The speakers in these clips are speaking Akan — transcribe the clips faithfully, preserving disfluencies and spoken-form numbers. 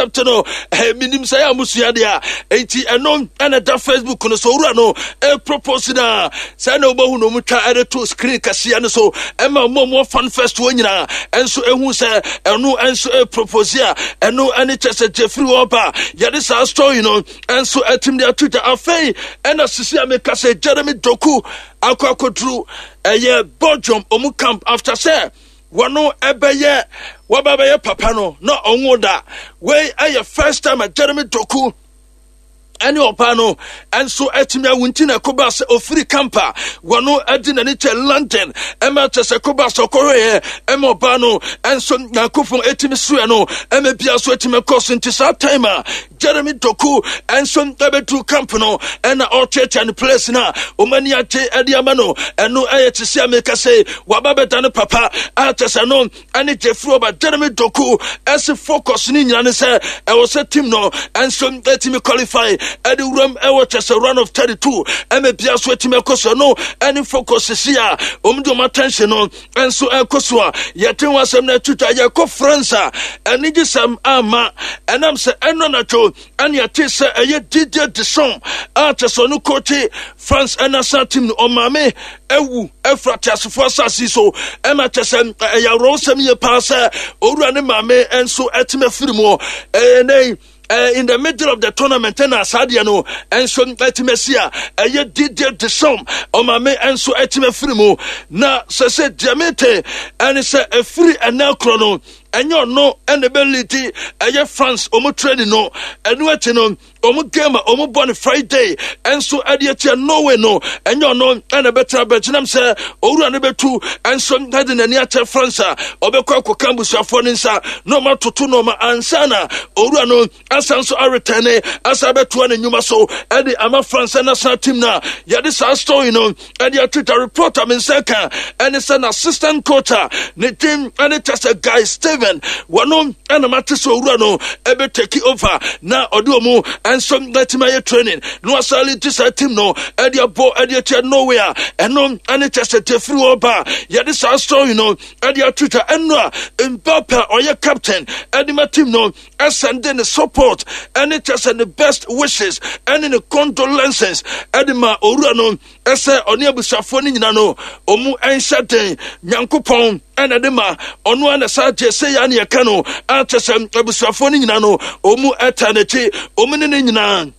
Accept no, eh, menim sɛ yɛ a mosua deɛ a, enti ɛno ɛna da Facebook no so. Owura no ɛpropose no a, sɛ na wobɛhu no ɔmu twa ɛde to screen kɛseɛ no so ɛma ɔmo ɔmo fan first wɔ nyinaa ɛnso ɛhu sɛ ɛno ɛnso ɛpropose a, ɛno ɛne kyɛ sɛ Jeffrey Wɔba yɛde saa story no ɛnso ɛtim de ato gya. Afei ɛna sisi a meka sɛ Jeremy Doku akɔ akɔduru ɛyɛ Belgium ɔmu camp after sɛ wɔno ɛbɛyɛ wɔba bɛyɛ papa no na ɔnwo da. Wei ɛyɛ first time a Jeremy Doku ɛne ɔbaa no ɛnso atumi awo, nti na ɛkɔba sɛ ofiri camp a wɔno ɛde n'ani kyɛ London, ɛma kyɛ sɛ kɔba sɛ ɔkɔhwɛeɛ ɛma ɔbaa no ɛnso Nyankopɔn ɛtumi soɛ no, ɛma bia so ɛtumi kɔ so. Nti saa time a Jeremy Doku ɛnso ɛbɛduru camp no, ɛna ɔkyerɛkyerɛ ne place no a ɔmo ani agye ɛde ama no. Ɛno ɛyɛ te sɛ ameka sɛ waba bɛda no papa a, kyɛ sɛ no ɛne Jeffrey Ɔba. Jeremy Doku ɛsi focus ne nyina ne sɛ ɛwɔ sɛ team no ɛnso ɛtumi qualify ɛde wuram ɛwɔ kyɛ sɛ round of thirty-two, ɛmɛ bia so ɛtumi ɛkɔ so no. Ɛne focus si a ɔmo de ɔmo attention no ɛnso ɛkɔ so a yɛte ho asɛm no atwitwa. Yɛkɔ France a, ɛne sɛm ama ɛnam sɛ ɛno anatwo ɛne yɛte sɛ ɛyɛ Didier Deschamps a kyɛ sɛ ɔno coach France ɛnational team no, ɔmaame ɛwu ɛfra teasefoɔ asase so. Ɛma kyɛ sɛ ɛyɛ awerɛwosɛm yie paa sɛ owura ne maame nso ɛtumi afiri mu ɛyɛ nɛn uh, in the middle of the tournament. Ɛna saa deɛ no ɛnso ɛtumi asi a ɛyɛ Didier Deschamps ɔmaame ɛnso ɛtumi afiri mu. Na sɛ sɛ deɛ mete ɛne sɛ ɛfiri ɛnɛ korɔ no, ɛnyɛ ɔno ɛna ɛbɛlead ɛyɛ France ɔmo training no. Ɛno akyi no, ɔmo game a ɔmo bɔ no Friday ɛnso ɛde akyia Norway no, ɛnyɛ ɔno ɛna ɛbɛtena bɛgyinam sɛ owura no bɛtu ɛnso ɛde n'ani akyɛ France a ɔbɛkɔ akɔka abusuafoɔ no nsa na ɔmo atoto nneɛma ansa na owura no asan so aretɛne asa bɛtoa ne nnwuma so ɛde ama France national team. No a yɛde saa story no ɛde atwitwa report a me nsa ka ɛne sɛ n'assistant coach a ne din ɛne kyɛ sɛ Guy Steven, wɔno ɛna mate sɛ owura no ɛbɛtake over na ɔde ɔmu ɛnso ɛtumi ayɛ training na wasale ti saa team no ɛde abɔ ɛde akyɛ Norway a, ɛno ɛne kyɛ sɛ tefiri hɔ ba yɛde saa story no ɛde atwitwa. Ɛno a Mbappe a ɔyɛ captain ɛde ma team no ɛsend ne support ɛne kyɛ sɛ ne best wishes ɛne ne condolences ɛde ma owura no, ɛsɛ ɔne abusuafoɔ no nyina no ɔmu ɛnhyɛ den. Nyankopɔn ɛna de ma ɔno a na saa gye sɛ yɛ ne yɛka no akyɛ sɛ abusuafoɔ no nyina no ɔmu ɛta n'akyi, ɔmu ne ne nyinaa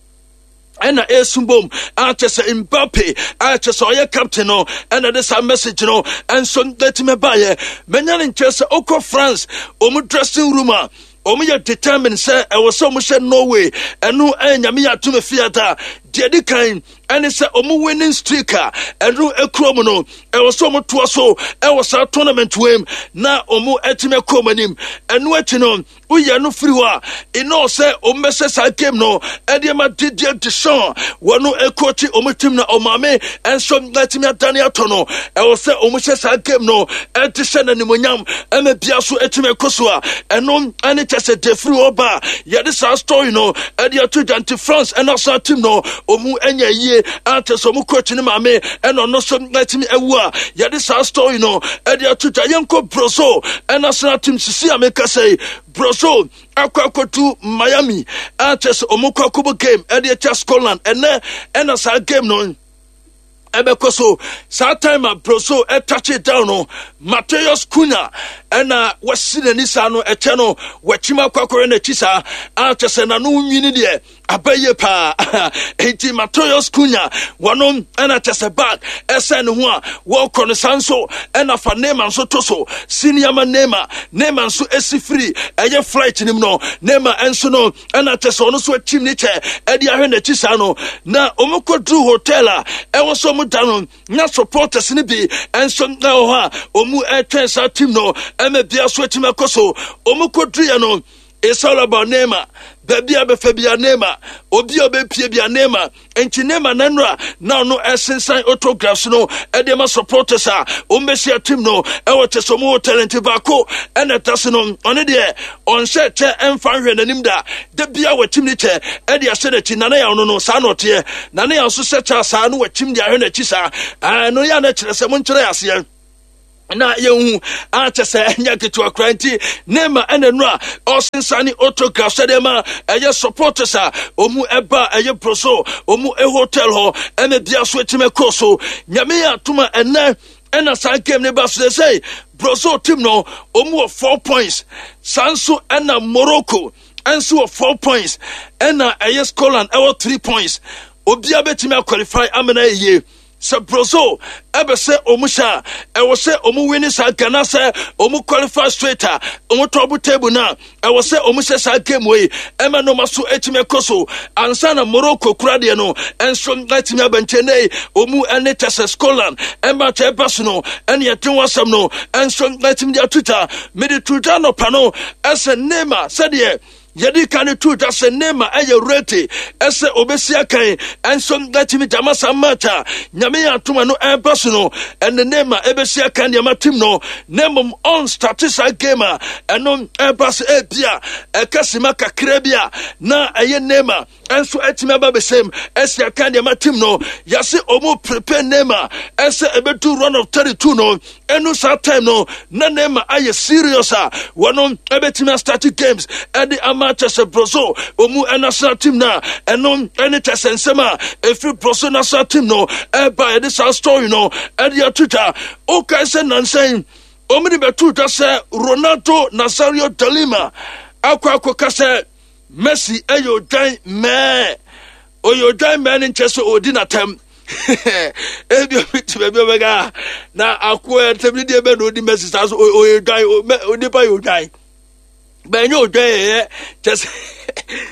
ɛna esu bom akyɛ sɛ Mbappe akyɛ sɛ ɔyɛ captain no ɛna de saa message no ɛnso ɛtumi baayɛ. Mɛnya ne nkyɛn sɛ ɔkɔ France ɔmu dressing room a, ɔmo yɛ determined sɛ ɛwɔ sɛ ɔmo hyɛ Norway. Ɛno ɛyɛ Nyame yɛ atum fiata. Deɛ di kan ɛne sɛ ɔmo winning streak a ɛno ekuro mu no, ɛwɔ sɛ ɔmo toa so ɛwɔ saa tournament wei na ɔmo ɛtumi ɛkɔ ɔmo anim. Ɛno akyi no, woyɛ no firi hɔ a, ɛnɔ sɛ ɔmo bɛhyɛ saa game no ɛde ma Didier Deschamps, wɔno ɛkɔkyi ɔmo team na ɔmaame ɛnso ɛtumi adane atɔ no. Ɛwɔ sɛ ɔmo hyɛ saa game no ɛde hyɛ n'animonyam ɛma bia so ɛtumi ɛkɔ so a, ɛno ɛne kyɛ sɛ defiri hɔ ba yɛde saa story no ɛde ato dwa. Nti France ɛna saa team no ɔmo ɛnya yie akyɛ sɛ ɔmo coach ne maame ɛna ɔno so ɛtumi ɛwu a yɛde saa story no ɛde ato dwa. Yɛnkɔ Brazil ɛna saa team. Sisi a meka sɛ Brazil akɔ akɔtu Miami akyɛ sɛ ɔmo kɔ akɔbɔ game ɛde akyɛ Scotland ɛnɛ, ɛna saa game no ɛbɛkɔ so. Saa time a Brazil ɛtouch down no, Mateus Cunha ɛna wasi n'ani saa no, ɛkyɛ no wakyim akɔ akɔyɛ n'akyi saa akyɛ sɛ n'ano nwini deɛ abɛyɛ paa. Nti Mateus Cunha wɔno ɛna kyɛ sɛ bag ɛsɛn ne ho a wɔrekɔ no saa nso, ɛna fa Neymar nso to so senior ma Neymar. Neymar nso esi firi ɛyɛ flight nim no, Neymar nso no ɛna kyɛ sɛ ɔno nso akyim ne kyɛ ɛde ahwɛ n'akyi saa no. Na wɔn kɔduru hotel a ɛwɔ sɛ wɔn da no, na supporters no bi nso ɛwɔ hɔ a wɔn ɛretwɛn saa team no ɛmɛ bia so atumi akɔ so. Wɔn kɔduru yɛ no, it's all about Neymar. Baabi a bɛfɛ bia Neymar, obi a ɔbɛpie bia Neymar. Nti Neymar nanura na ɔno ɛsensan autographs no ɛde ma supporters a wɔn bɛhyia team no ɛwɔ kyɛ sɛ ɔmo hotel. Nti baako ɛna ɛda so no, ɔno deɛ ɔnhyɛ kyɛ ɛmfa nhwɛ n'anim da da bia wɔkyim ne kyɛ ɛde ahyɛ n'akyi. Nana yɛ ɔno no saa na ɔteɛ. Nana yɛ nso hyɛ kyɛ saa no, wɔkyim de ahwɛ n'akyi saa. Ɛno yɛ a na kyerɛ sɛ monkyerɛ aseɛ. Na yɛhu akyɛ sɛ ɛnyɛ ketewa kora. Nti Neymar ɛna nu a ɔsensane autograph sɛdeɛ ma ɛyɛ supporters a ɔmu ɛba ɛyɛ Brazil ɔmu hotel hɔ ɛna bia so atumi kɔ so. Nyame yɛ atoma, ɛnɛ ɛna saa game ne ba so. Sɛ Brazil team no, ɔmu wɔ four points, saa nso ɛna Morocco ɛnso wɔ four points, ɛna ɛyɛ Scotland ɛwɔ three points. Obiara bɛtumi aqualify amena yie. Sɛ Brazil ɛbɛ sɛ ɔmu hyɛ a, ɛwɔ sɛ ɔmu win saa Ghana sɛ ɔmu qualify straight a ɔmu top table na ɛwɔ sɛ ɔmu hyɛ saa game wei ɛma nneɛma so ɛtumi ɛkɔ so ansa na Morocco kura deɛ no ɛnso ɛtumi abɛnkyɛn ne ɔmu ɛne kyɛ sɛ Scotland ɛma kyɛ ɛba so no. Ɛne yɛte ho asɛm no ɛnso ɛtumi de atuta mede tuta nɔpa no ɛsɛ Neymar, sɛdeɛ yɛde ka ne to dwa sɛ Neymar ɛyɛ ready ɛsɛ obɛsi akan ɛnso ɛtumi gyama saa match a Nyame yɛ atoma no ɛba so no. Ɛne Neymar ɛbɛsi akan nneɛma team no, na mmom ɔnstart saa game a ɛno ɛba so. Ebia ɛka sima kakra bi a na ɛyɛ Neymar ɛnso ɛtumi aba bɛsɛm ɛsi aka nneɛma team no. Yɛse ɔmo prepare Neymar ɛsɛ ɛbɛdu round of thirty-two no, ɛnu saa time no na Neymar ayɛ serious a wɔno ɛbɛtumi astart games ɛde ama kyɛ sɛ Brazil ɔmu national team na ɛno ɛne kyɛ sɛ nsɛm a ɛfiri Brazil national team no ɛba. Yɛde saa story no ɛde ato dwa. Wokae sɛ nansɛn ɔmo de bɛto dwa sɛ Ronaldo Nazario de Lima akɔ akɔka sɛ Messi ɛyɛ odwan mɛɛ. Ɔyɛ odwan mɛɛ no nkyɛ sɛ ɔdi n'atɛm. Ebi obi te baabi ɔbɛka na akoa ɛtɛm ne deɛ bɛ na ɔdi Messi saa so. Ɔyɛ odwan, onipa yɛ odwan bɛnyɛ odwan yɛyɛ kyɛ sɛ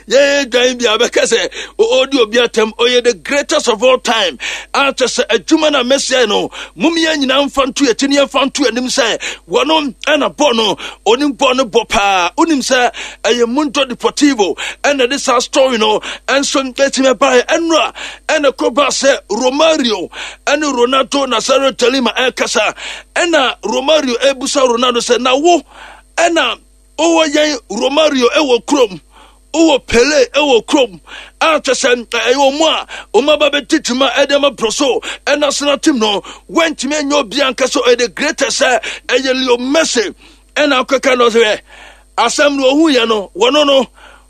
yɛyɛ dwan bi a bɛka sɛ ɔdi obi atɛm. Ɔyɛ the greatest of all time a kyɛ sɛ adwuma no a Messi ayɛ no, mom yɛn nyinaa mfa nto akyi ne yɛmfa nto anim sɛ wɔno ɛna bɔ no, onim bɔ no bɔ paa. Wonim sɛ ɛyɛ Mundo Deportivo ɛna de saa story no ɛnso ɛtumi ɛbaeɛ. Ɛno a ɛna kɔba sɛ Romario ɛne Ronaldo Nazario de Lima ɛkasa, ɛna Romario ɛbusa Ronaldo sɛ, na wo ɛna wowɔ yɛn Romario ɛwɔ kurom, wowɔ Pele ɛwɔ kurom a kyɛ sɛ ɛyɛ ɔmo a ɔmo aba bɛdi dwuma ɛde ama Brazil national team no, wɔntumi anya obi ankasa ɔyɛ the greatest sɛ ɛyɛ Leo Messi? Ɛna akɔka no sɛ asɛm no ɔhu yɛ no, wɔno no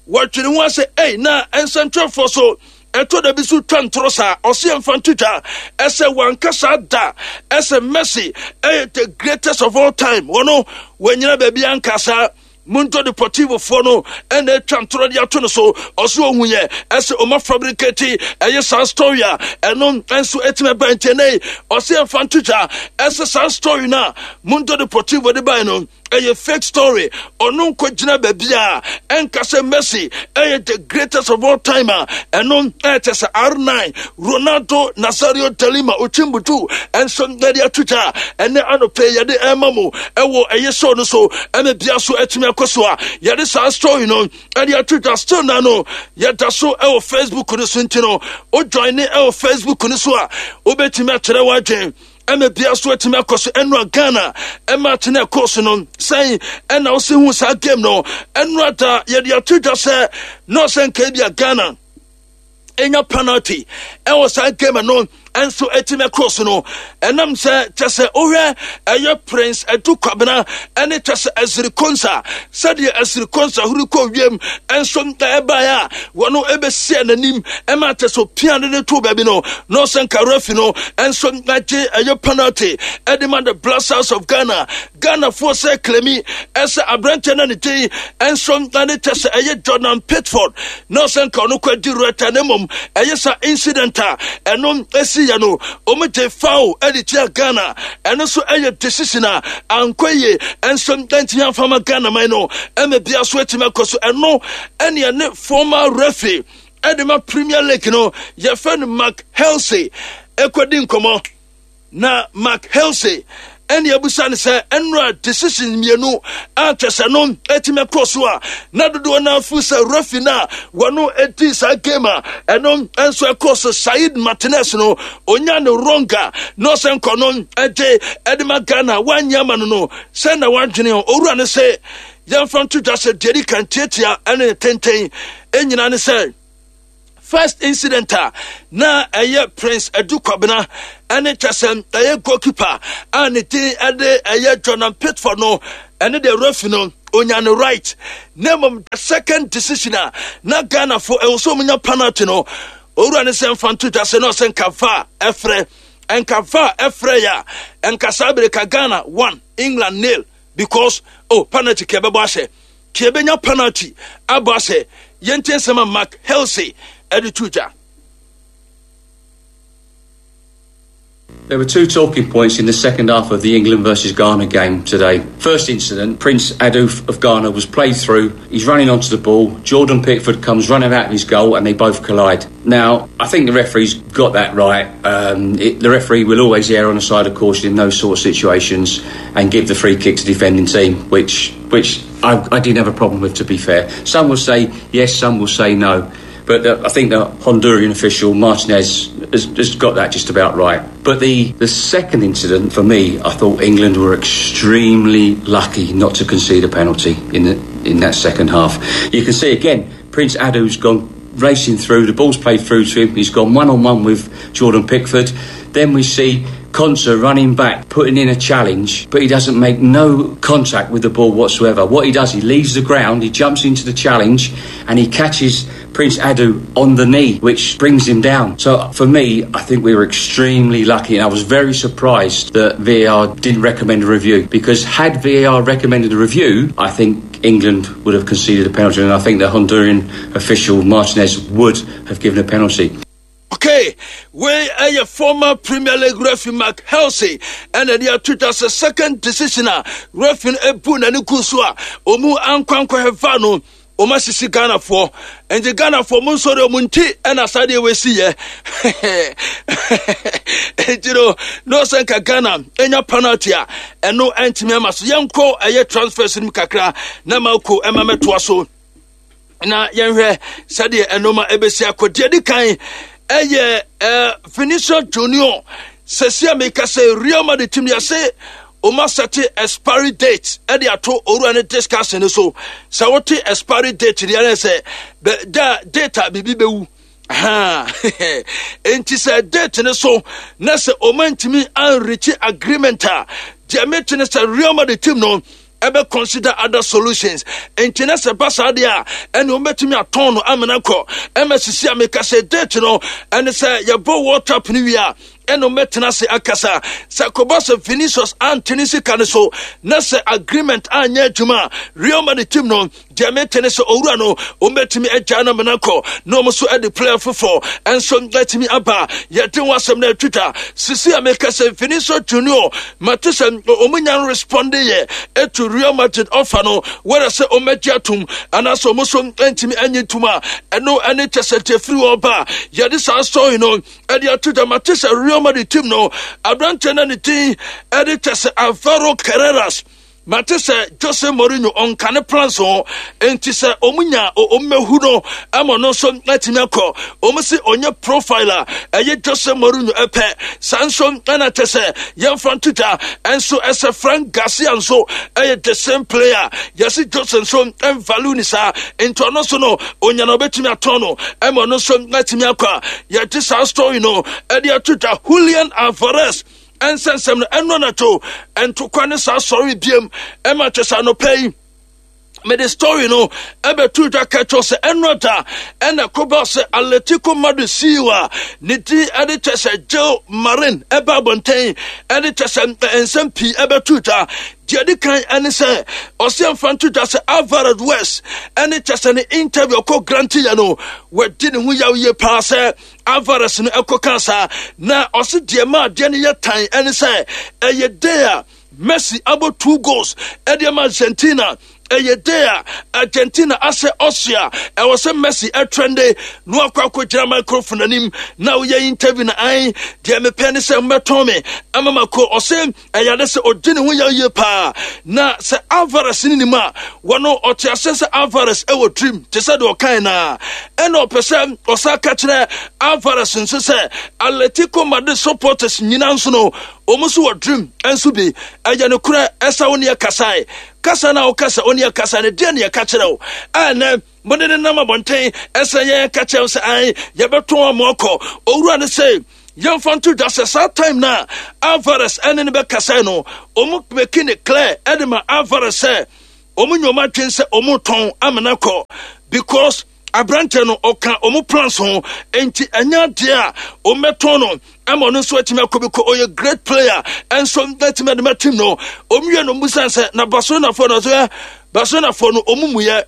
wɔtwere ho asɛ ɛy na nsɛntwerɛfoɔ so ɛtɔ da bi so twa ntoro saa. Ɔse yɛmfa nto dwa ɛsɛ wankasa da ɛsɛ Messi ɛyɛ the greatest of all time. Wɔno wɔanyina baabi ankasa. Mundo Deportivo foɔ no ɛna atwa ntorɔ de ato no so. Ɔso ohun yɛ ɛsɛ ɔma fabricate ɛyɛ saa story a ɛno nso ɛtumi ɛba. Nkyɛn ɔsɛ yɛmfa nto dwa ɛsɛ saa story no a Mundo Deportivo de bae no ɛyɛ fake story. Ɔno nkɔgyina baabi a ɛnka sɛ Messi ɛyɛ the greatest of all time a ɛno ɛkyɛ sɛ R nine Ronaldo Nazario de Lima Ochimbutu ɛnso yɛde ato dwa. Ɛnɛ anɔpɛ yɛde ɛma mu ɛwɔ ɛyɛ show no so ɛma bia so ɛtumi akɔ so a yɛde saa story no ɛde ato dwa. Still na no yɛda so ɛwɔ Facebook no so, nti no wo join ne ɛwɔ Facebook no so a, wobɛtumi akyerɛ w'adwen ɛma bia so atumi akɔ so. Ɛno a Ghana ɛma atene ɛkɔ so no sɛn ɛna wosi hu saa game no? Ɛno ada yɛde ato dwa sɛ na ɔsɛ nka bi a Ghana ɛnya penalty ɛwɔ saa game no ɛnso ɛtumi ɛkɔ so no, ɛnam sɛ kyɛ sɛ wohwɛ ɛyɛ Prince Adu Kwabena ɛne kyɛ sɛ Ezri Konsa, sɛdeɛ Ezri Konsa huri kɔ wiem ɛnso ɛbaeɛ a wɔno ɛbɛsia n'anim ɛma kyɛ sɛ opia ne de to baabi no, na ɔsɛ nka referee no ɛnso agye ɛyɛ penalty ɛde ma the Black Stars of Ghana. Ghanafoɔ sɛ claim ɛsɛ aberanteɛ no ne din ɛnso ɛne kyɛ sɛ ɛyɛ Jordan Pickford, na ɔsɛ nka ɔno kɔ adi rɛta, na mmom ɛyɛ sa incident a ɛno ɛsi yɛ no, ɔmo gye foul ɛde tia Ghana. Ɛno nso ɛyɛ decision a ankɔ yie ɛnso ɛntumi amfama Ghana man no ɛma bia so atumi akɔ so. Ɛno ɛne ɛne former referee ɛde ma Premier League no, yɛfɛ no Mark Halsey, ɛkɔdi nkɔmmɔ. Na Mark Halsey ɛne abusa no sɛ ɛnora decision mmienu a kyɛ sɛ no ɛtumi akɔ so a na dodoɔ no afu sɛ referee no a wɔno ɛdi saa game a ɛno nso ɛkɔ so, Said Martinez no, onya no wrong a na ɔsɛ nkɔ no ɛgye ɛde ma Ghana, wanyɛ ama no no sɛ na wadwene ho. Owura no sɛ yɛmfa nto dwa sɛ deɛ di kan tiatia ɛne ne tenten ɛnyina ne sɛ first incident a na ɛyɛ Prince Adu Kwabena Ɛne kyɛ sɛ ɛyɛ goalkeeper a ne din ɛde ɛyɛ Jordan Pickford no, ɛne deɛ referee no onya no right. Na mmom the second decision a na Ghanafoɔ ɛwɔ sɛ ɔmunya penalty no, owura ne sɛ mfa nto dwa sɛ na ɔsɛ nka V A R ɛfrɛ, nka V A R ɛfrɛ yɛ a, nka saa bere ka Ghana one, England nil, because oh, penalty kɛ ɛbɛbɔ ahyɛ, kɛ ɛbɛnya penalty abɔ ahyɛ. Yɛntie nsɛm a Mark Halsey ɛde to dwa. There were two talking points in the second half of the England versus Ghana game today. First incident, Prince Adu of Ghana was played through. He's running onto the ball. Jordan Pickford comes running out of his goal and they both collide. Now, I think the referee's got that right. Um, it, the referee will always err on the side of caution in those sort of situations and give the free kick to the defending team, which which I, I didn't have a problem with, to be fair. Some will say yes, some will say no. But the, I think the Honduran official, Martinez, has, has got that just about right. But the, the second incident, for me, I thought England were extremely lucky not to concede a penalty in, the, in that second half. You can see again, Prince Adu's gone racing through, the ball's played through to him, he's gone one on one with Jordan Pickford. Then we see Konsa running back, putting in a challenge, but he doesn't make no contact with the ball whatsoever. What he does, he leaves the ground, he jumps into the challenge, and he catches Prince Adu on the knee, which brings him down. So for me, I think we were extremely lucky, and I was very surprised that V A R didn't recommend a review, because had V A R recommended a review, I think England would have conceded a penalty, and I think the Honduran official Martinez would have given a penalty. Okay, wei ɛyɛ former Premier League referee Mark Halsey ɛna de ato dwa sɛ second decision a referee no ebu n'ani gu so a ɔmu ankwankɔhɛ V A R no, ɔmo asisi Ghanafoɔ. Nti Ghanafoɔ mo nsɔre, ɔmo nti ɛna saa deɛ wɔasi yɛ. Nti no na ɔsɛ nka Ghana ɛnya penalty a ɛno ɛntumi ama so. Yɛnkɔ ɛyɛ transfers no mu kakra na Marco ɛma mɛtoa so na yɛnhwɛ sɛdeɛ ɛnoma ɛbɛsi akɔ. Deɛ di kan ɛyɛ ɛɛ Vinicius Junior. Sɛsi a meka sɛ Real Madrid team yɛse ɔma set expiry date ɛde ato owura ne discussion no so. Sɛ wote expiry date deɛ ne sɛ bɛ da date a biribi bɛwu ha. Nti sɛ date ne so na sɛ ɔma ntumi anreach agreement a, deɛ mete ne sɛ Real Madrid team no ɛbɛ consider other solutions. Nti na sɛ ba saa deɛ a, ɛne wɔbɛtumi atɔn no amena kɔ. Ɛma sisi a meka sɛ date no ɛne sɛ yɛbɔ World Cup no wie a, ɛna wɔbɛtena ase akasa. Sɛ kɔba sɛ Vinicius antene sika no so na sɛ agreement anyɛ adwuma a, Real Madrid team no, deɛ mete ne sɛ owura no wɔbɛtumi agya no amena kɔ na wɔn nso de player foforɔ ɛnso atumi aba. Yɛde wɔn asɛm no atwitwa. Sisi a meka sɛ Vinicius Junior, mate sɛ wɔn nya respond yɛ etu Real Madrid offer no, wɔrɛ sɛ wɔn agye atum anaasɛ wɔn nso ntumi anyi ntum a, ɛno ɛne kyɛ sɛ deɛ firi wɔn ba yɛde saa story no ɛde ato dwa. Mate sɛ Real Madrid team no aberanteɛ no ne din ɛde kyɛ sɛ Alvaro Carreras, mate sɛ Jose Mourinho ɔnka ne plans ho. Nti sɛ ɔmo nya ɔmo mɛhu no ama ɔno nso atumi akɔ. Ɔmo si ɔnyɛ profile a ɛyɛ Jose Mourinho ɛpɛ saa nso. Ɛna kyɛ sɛ yɛmfa nto dwa ɛnso ɛsɛ Frank Garcia nso ɛyɛ the same player. Yɛsi Jose nso ɛnvalue ne saa, nti ɔno nso no onya na ɔbɛtumi atɔn no ɛma ɔno nso atumi akɔ a yɛde saa story no ɛde ato dwa. Julian Alvarez ɛnsɛnsɛm no ɛno anadwo ntokwa ne saa sɔre biem ɛma kyɛ sɛ anɔpɛ yi mede story no ɛbɛto dwa kɛkyɛw sɛ ɛno da ɛna kɔba sɛ Atletico Madrid C E O a ne din ɛde kyɛ sɛ Gil Marin ɛba abɔnten ɛde kyɛ sɛ nsɛm pii ɛbɛto dwa. Deɛ di kan ɛne sɛ ɔsɛ mfa nto dwa sɛ Alvarez West ɛne kyɛ sɛ ne interview ɔkɔ grant yɛ no, wɔdi ne ho yaw yie paa sɛ Alvarez no ɛkɔ ka saa. Na ɔse deɛ ma adeɛ no yɛ tan ɛne sɛ ɛyɛ day a Messi abɔ two goals ɛde ama Argentina, ɛyɛ day a Argentina asɛ Austria, ɛwɔ sɛ Messi ɛtrend na wakɔ akɔgyina microphone anim na woyɛ interview na an deɛ mepɛ ne sɛ mbɛtɔn me ama mako. Ɔsɛ ɛyɛ ade sɛ ɔdi ne ho yɛ yie paa. Na sɛ Alvarez ne nim a, wɔno ɔte ase sɛ Alvarez ɛwɔ dream te sɛ deɛ ɔkan naa. Ɛna ɔpɛ sɛ ɔsa ka kyerɛ Alvarez nso sɛ Atletico Madrid supporters nyinaa nso no, wɔn nso wɔ dream nso bi. Ɛyɛ no korɛ ɛsɛ wo ne ɛkasae kasa na wokasa wo ne ɛkasa no deɛ ne yɛka kyerɛ wo ɛnɛ mode ne nam abɔnten ɛsɛ yɛn ka kyerɛ wo sɛ an yɛbɛtɔn ama ɔkɔ. Owura no sɛ Yɛmfa nto dwa sɛ saa time na Alvarez ɛne ne bɛkasa no, ɔmo make ne clear ɛde ma Alvarez sɛ ɔmo nyɛ ɔmo adwen sɛ ɔmo tɔn amena kɔ, because aberanteɛ no ɔka ɔmo plans ho, nti ɛnyɛ adeɛ a ɔmmɛtɔn no ɛma ɔno nso atumi akɔ bi kɔ. Ɔyɛ great player ɛnso atumi ade ma team no. Ɔmo wie no, ɔmo sɛ na Barcelonafoɔ no so ɛ Barcelonafoɔ no ɔmo mu yɛ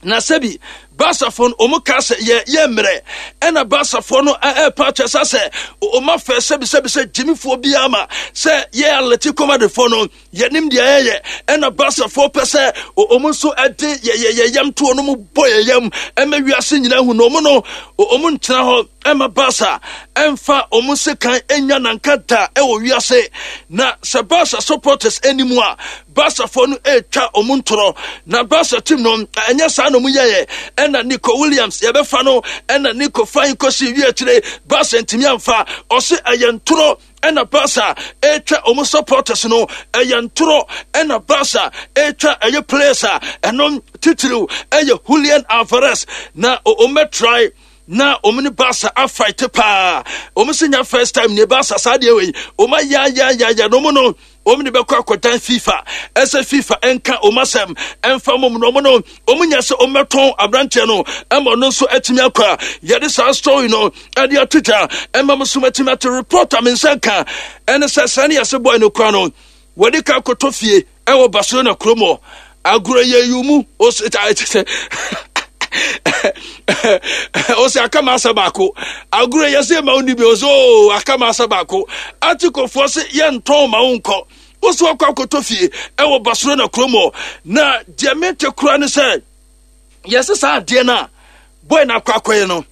na sɛbi Barcafoɔ no ɔmo ka sɛ yɛ yɛ mmerɛ, ɛna Barcafoɔ no ɛɛpa akyɛ sa sɛ ɔmo afɛ sɛbi sɛbi sɛ gyimifoɔ biara ma sɛ yɛ Atletico Madridfoɔ no yɛnim deɛ yɛyɛ. Ɛna Barcafoɔ pɛ sɛ ɔmo nso ɛde yɛ yɛ yɛ yam to ɔno mu bɔ yɛ yam ɛmɛ wiase nyinaa hu na ɔmo no ɔmo ntena hɔ ɛma Barca ɛmfa ɔmo sekan ɛnya nanka da ɛwɔ wiase. Na sɛ Barca supporters anim a, Barcafoɔ no ɛretwa ɔmo ntorɔ na Barca team no ɛnyɛ saa na ɔmo yɛyɛ. Ɛna Nico Williams yɛbɛfa no, ɛna Nico fan kɔsi wie akyire Barca ntumi amfa. Ɔse ɛyɛ ntorɔ ɛna Barca ɛretwa ɔmo supporters no, ɛyɛ ntorɔ ɛna Barca ɛretwa ɛyɛ players a ɛno titiriw ɛyɛ Julian Alvarez, na ɔmo try na ɔmo ne Barca afight paa. Ɔmo sɛ nya first time ne Barca saa deɛ wei ɔmo ayayayaya na ɔmo no ɔmo de bɛkɔ akɔdan FIFA ɛsɛ FIFA ɛnka ɔmo asɛm ɛnfa mom, na ɔmo no ɔmo nya sɛ ɔmo bɛtɔn aberanteɛ no ɛma ɔno nso atumi akɔ a yɛde saa story no ɛde ato dwa ɛma mo so atumi ate. Report a me nsa nka ɛne sɛ saa ne yɛsɛ boy no kora no wɔde ka akɔtɔ fie ɛwɔ Barcelona kurom hɔ. Agorɔ yɛ yi mu ɔsɛ ɔsɛ aka ma asa baako. Agorɔ yɛ sɛ ma wo ni bi ɔsɛ oo aka ma asa baako. Atikofoɔ sɛ yɛntɔn ma wo nkɔ, woso akɔ akɔtɔ fie ɛwɔ Barcelona kurom hɔ. Na deɛ mente kora ne sɛ yɛsɛ saa adeɛ no a boy no akɔ akɔyɛ no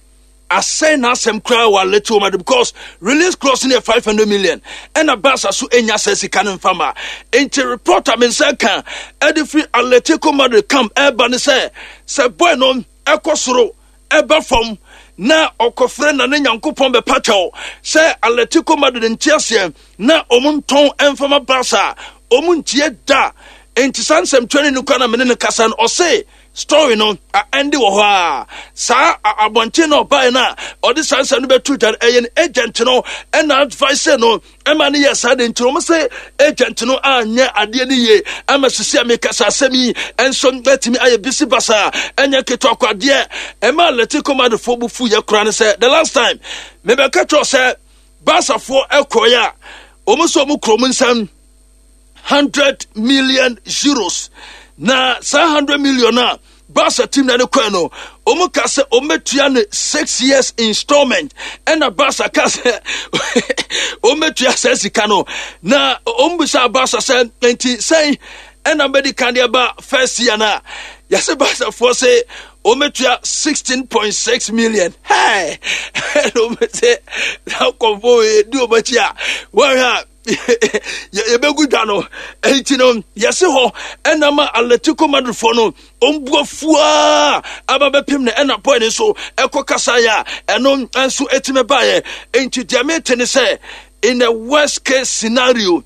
asɛn n'asɛm koraa wɔ Atletico Madrid, because release clause no yɛ five hundred million, ɛna Barca so enya sɛ sika no mfa ma. Nti report a me nsa ka ɛde firi Atletico Madrid camp ɛreba ne sɛ sɛ boy no ɛkɔ soro ɛba fam na ɔkɔfrɛ na ne Nyankopɔn bɛpa kyɛw sɛ Atletico Madrid nte aseɛ na ɔmo ntɔn ɛmfama Barca, ɔmo ntie da. Nti saa nsɛmtwerɛ no kora na mene no kasa no, ɔse story no ɛnde wɔ hɔ a saa abɔnten na ɔbaeɛ no a ɔde saa nsɛm no bɛto dwa no, ɛyɛ no agent no ɛna advice no ɛma no yɛ saa de. Nti wɔn sɛ agent no anyɛ adeɛ no yie ama sisi a mekasa asɛm yi ɛnso bɛtumi ayɛ bisi basa. Ɛnyɛ ketewa kɔ adeɛ ɛma Atletico Madridfoɔ bu fu yɛ kora no sɛ the last time mebɛka kyerɛ sɛ Barcafoɔ ɛkɔeɛ a wɔn nso wɔn kurom nsɛm hundred million euros, na saa hundred million a Barca team na ne kɔɛ no, wɔn ka sɛ wɔn bɛtua no six years installment, ɛna Barca ka sɛ wɔn bɛtua saa sika no. Na wɔn bisa Barca sɛ nti sɛn ɛna bɛdi kan deɛ ba first year na yɛsɛ Barcafoɔ sɛ wɔn bɛtua sixteen point six million. Hey, ɛna wɔn sɛ na kɔnfo di wɔn akyi a wɔn hwɛ a yɛbɛgu dwa no. Nti no yɛse hɔ ɛna ma Atletico Madridfoɔ no ɔmbu afuaa aba bɛpem no, ɛna boy no nso ɛkɔ kasaeɛ a ɛno nso ɛtumi baeɛ. Nti deɛ mete ne sɛ in the worst case scenario,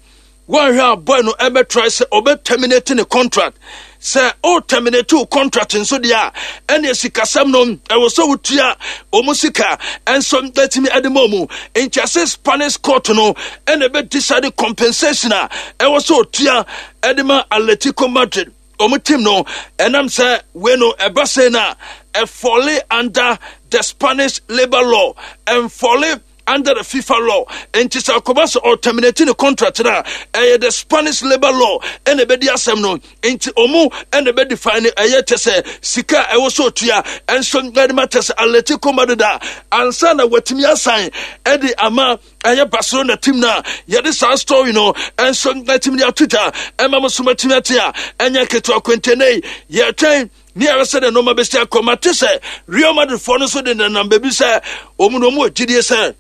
wɔnhwɛ a boy no ɛbɛtry sɛ ɔbɛ terminate ne contract. Sɛ o terminate wo contract nso deɛ a, ɛne sikasɛm no ɛwɔ sɛ wotua ɔmo sika ɛnso ɛtumi ɛde ma ɔmo. Nti ase Spanish court no ɛna ɛbɛ decide compensation a ɛwɔ sɛ otua ɛde ma Atletico Madrid ɔmo team no. Ɛnam sɛ wei no ɛba sɛ no a ɛfall under the Spanish labour law, ɛnfall under the FIFA law. Nti sɛ akɔba sɛ ɔterminate ne contract no a, ɛyɛ the Spanish labour law ɛna ɛbɛdi asɛm no. Nti ɔmo ɛna ɛbɛdefine no, ɛyɛ kyɛ sɛ sika a ɛwɔ sɛ otua ɛnso ɛde ma kyɛ sɛ Atletico Madrid a ansa na watumi asan ɛde ama ɛyɛ Barcelona team no a yɛde saa story no ɛnso atumi de ato dwa ɛma mo so matumi ate a ɛnyɛ ketewa kwentene. Yɛtwɛn ne yɛrɛ sɛ de nneɛma bɛsi akɔ. Mate sɛ Real Madrid foɔ no nso de nenam baabi sɛ wɔn no wɔn wɔ gyidie sɛ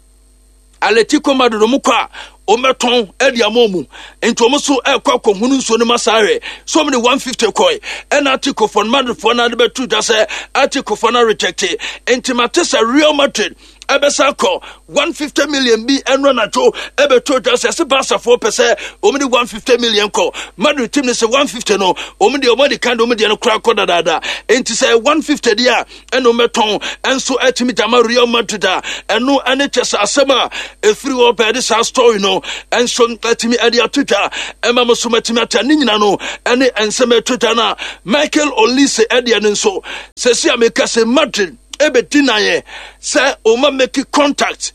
Atletico Madrid wɔn kɔ a wɔn bɛtɔn ɛde ama wɔn, nti wɔn nso ɛkɔ akɔhunu nsuo no ma saa hwɛ so wɔn de one fifty kɔɛ, ɛna Atletico foɔ no, Madrid foɔ no ade bɛto dwa sɛ Atletico foɔ no reject. Nti mate sɛ Real Madrid Ɛbɛsa kɔ one hundred fifty million bi. Ɛno anadwo ɛbɛtɔ dwa sɛ ɛsɛ Barcafoɔ pɛ sɛ wɔn de one hundred fifty million kɔ. Madrid team no sɛ one hundred fifty no, wɔn deɛ, wɔn de kan de wɔn deɛ no kora kɔ dadaada. Nti sɛ one hundred fifty deɛ a, ɛna wɔn bɛtɔn ɛnso ɛtumi dama Real Madrid a, ɛno ɛne kyɛ sɛ asɛm a ɛfiri hɔ bɛɛde saa story no ɛnso ɛtumi ɛde ato dwa ɛma mo so mɛtumi ata ne nyina no. Ɛne nsɛm ɛto dwa no a, Michael Olise ɛdeɛ no nso sɛsi a meka sɛ Madrid ɛbɛdi naeɛ sɛ ɔma make contact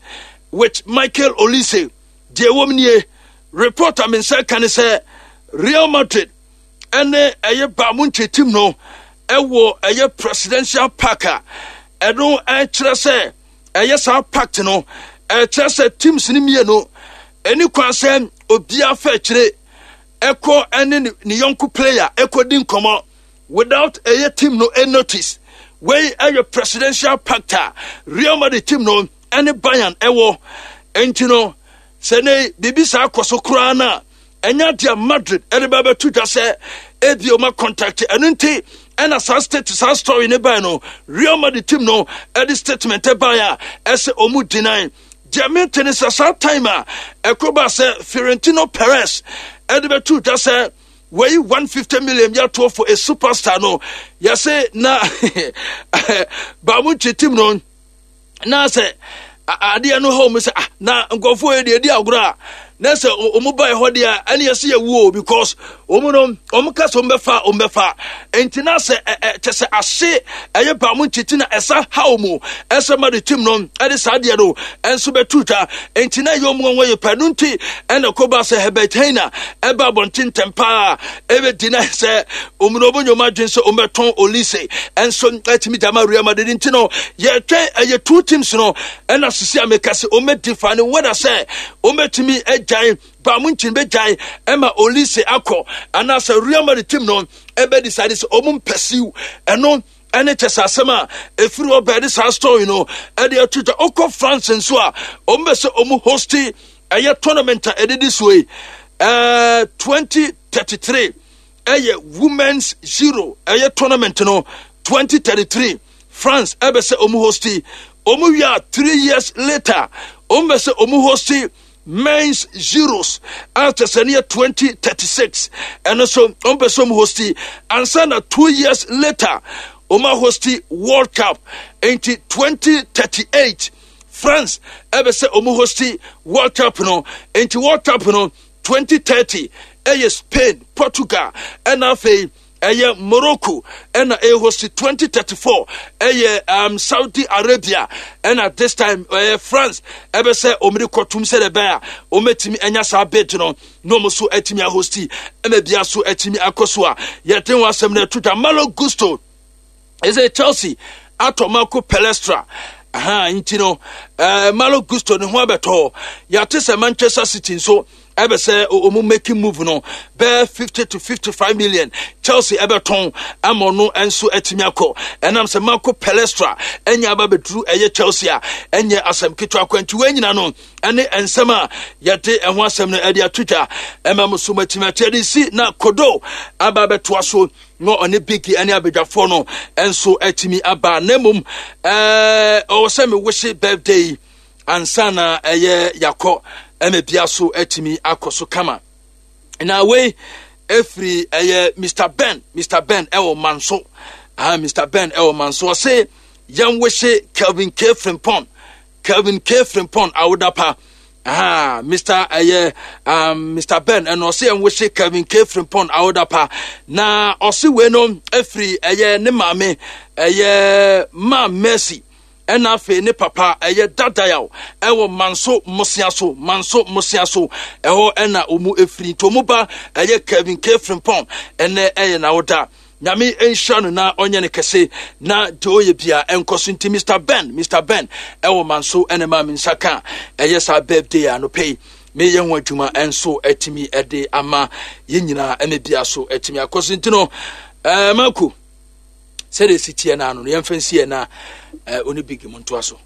with Michael Olise. Deɛ ɛwɔ mu nie, report a me nsa ka ne sɛ Real Madrid ɛne ɛyɛ Bayern Munich team no ɛwɔ ɛyɛ presidential pact a ɛno ɛkyerɛ sɛ ɛyɛ saa pact no ɛkyerɛ sɛ teams no mmienu ɛni kwan sɛ obiara fɛ akyire ɛkɔ ɛne ne yɔnko player ɛkɔ di nkɔmɔ without ɛyɛ team no a notice. Wei ɛyɛ presidential pact a Real Madrid team no ɛne Bayern ɛwɔ. Nti no, sɛ ne biribi saa kɔ so koraa no a, ɛnyɛ adeɛ a Madrid ɛde ba bɛto dwa sɛ ebi ɔma contact. Ɛno nti ɛna saa state saa story ne ban no, Real Madrid team no ɛde statement ɛban a ɛsɛ ɔmu deny. Deɛ mente ne sɛ saa time a ɛkɔ ba sɛ Florentino Perez ɛde bɛto dwa sɛ wɔyi one hundred fifty million bi atoɔ for a superstar no, yɛse na Bayern Munich team no na sɛ adeɛ no hɔ mu sɛ, ah, na nkurɔfoɔ yi deɛ ɛdi agorɔ a, na sɛ ɔmo ba hɔ deɛ, ɛne yɛsɛ yɛ wuo, because ɔmo no ɔmo ka sɛ ɔmo bɛfa, ɔmo bɛfa. Nti na sɛ ɛ ɛ kyɛ sɛ ase ɛyɛ Bayern Munich ti na ɛsa ha ɔmo ɛsɛ ma de team no ɛde saa deɛ no ɛnso bɛtu dwa. Nti na ɛyɛ ɔmo wɔn yɛ pɛ no. Nti ɛna kɔba sɛ Herbert Hainer ɛba abɔnten ntɛm paa ɛbɛdi na sɛ ɔmo no ɔmo nyɛ ɔmo adwene sɛ ɔmo bɛtɔn Olise ɛnso ɛtumi dama Real Madrid. Nti no yɛtwɛn ɛyɛ two teams no ɛna sisi a meka sɛ ɔmo bɛdi fa ne wɛda sɛ ɔmo bɛtumi agyae Bayern Munich bɛgyae ɛma Olise akɔ anaasɛ Real Madrid team no ɛbɛ decide sɛ ɔmo mpɛsiw. Ɛno ɛne kyɛ sɛ asɛm a ɛfiri hɔ bɛɛde saa story no ɛde ato dwa. Ɔkɔ France nso a, ɔmo bɛ sɛ ɔmo host ɛyɛ tournament a ɛdedi so yi, ɛɛ twenty thirty-three ɛyɛ Women's Euro. Ɛyɛ tournament no twenty thirty-three, France ɛbɛ sɛ ɔmo host. Ɔmo wie a, three years later, ɔmo bɛ sɛ ɔmo host Men's Euros a kyɛ sɛ ne yɛ twenty thirty-six. Ɛno nso ɔmo pɛ sɛ ɔmo host ansa na two years later ɔmo host World Cup. Nti twenty thirty-eight France ɛbɛ sɛ ɔmo host World Cup no. Nti World Cup no twenty thirty ɛyɛ Spain, Portugal ɛna afei ɛyɛ Morocco ɛna ɛyɛ host. twenty thirty-four ɛyɛ um, Saudi Arabia, ɛna this time ɛyɛ France ɛbɛ sɛ ɔmo de kɔtum sɛ ɛbɛn a ɔmɛtumi ɛnya saa bid no na ɔmo so ɛtumi ahost ɛna bia so ɛtumi akɔ so a yɛde wɔn asɛm no ɛto dwa. Malo Gusto ɛsɛ Chelsea atɔ Marco Palestra aha. Nti no ɛɛ Malo Gusto ne ho abɛtɔ. Yɛate sɛ Manchester City nso ɛbɛ sɛ ɔmo making move no bɛɛ fifty to fifty-five million, Chelsea ɛbɛtɔn ama ɔno nso atumi akɔ. Ɛnam sɛ Marco Palestra ɛnya aba bɛduru ɛyɛ Chelsea a, ɛnyɛ asɛm ketewa kɔ. Nti wɔn nyina no ɛne nsɛm a yɛde ɛho asɛm no ɛde ato dwa ɛma mo so matumi akyɛ de si na kodo aba abɛtoa so na ɔne Bigi ɛne abadwafoɔ no ɛnso atumi aba. Na mmom ɛɛ ɔwɔ sɛ mewɔhye birthday ansa na ɛyɛ yakɔ ɛma bia so atumi akɔ so kama. Na wei efiri ɛyɛ Mister Ben, Mister Ben ɛwɔ Manso ah, Mister Ben ɛwɔ Manso. Ɔse yɛn wɔhye Kelvin K Frimpong, Kelvin K Frimpong awodapa. Ah, Mister ɛyɛ um, Mister Ben ɛna ɔse yɛn wɔhye Kelvin K Frimpong awodapa. Na ɔse wei no efiri ɛyɛ ne maame, ɛyɛ Maa Mercy, ɛna afei ne papa ɛyɛ Dadayaw ɛwɔ Manso Mmosea so, Manso Mmosea so ɛhɔ ɛna ɔmu efiri. Nti ɔmu ba ɛyɛ Kevin K Frimpong, ɛnɛ ɛyɛ n'awoda. Nyame nhyira no na ɔnyɛ ne kɛse na deɛ ɔyɛ bia ɛnkɔ so. Nti Mister Ben, Mister Ben ɛwɔ Manso ɛna maa mi nsa ka ɛyɛ saa birthday anɔpɛ yi meyɛ ho adwuma ɛnso ɛtumi ɛde ama yɛn nyinaa ɛna bia so ɛtumi akɔ so. Nti no ɛɛ mako sɛdeɛ esi teɛ no ano no, yɛmfa nsi yɛ na ɛɛ ɔne Big mu ntoa so.